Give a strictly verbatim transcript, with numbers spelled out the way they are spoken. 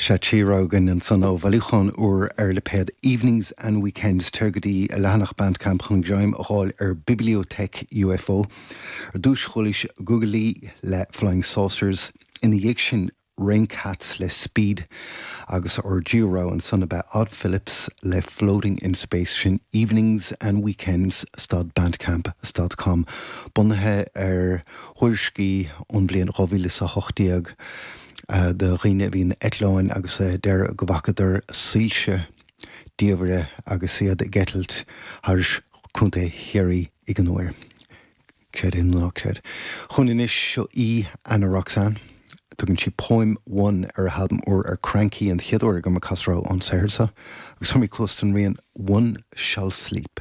Sé trí rogha againn ansan ó bhailiúchán úr ar lipéad Evenings and Weekends tar go dtí a leathanach Bandcamp chun greim a fháil ar Bibliothèque UFO. Ar dtús chualaís Googly le Flying Saucers ina dhiaidh sin Rain Cats le Speed agus ár dtríú rogha ansan ab ea Odd Phillips le Floating in Space sin Evenings and Weekends stad Bandcamp stad com bunaithe ar thuairiscí ón bhliain dhá mhíle is a hocht déag. do dhaoine a bhí in eitleáin agus a deir go bhfacadar soilse diamhaire agus iad ag eitilt thairis Contae Chiarraí ag an uair. Creid é nó ná creid. Chugainn anois seo í Ana Roxanne. Tugann sí Poem One ar a halbam úr ar Kranky an chéad uair agam ag casadh ón saothar seo, agus tabharfaidh mé cluas don rian One Shall Sleep.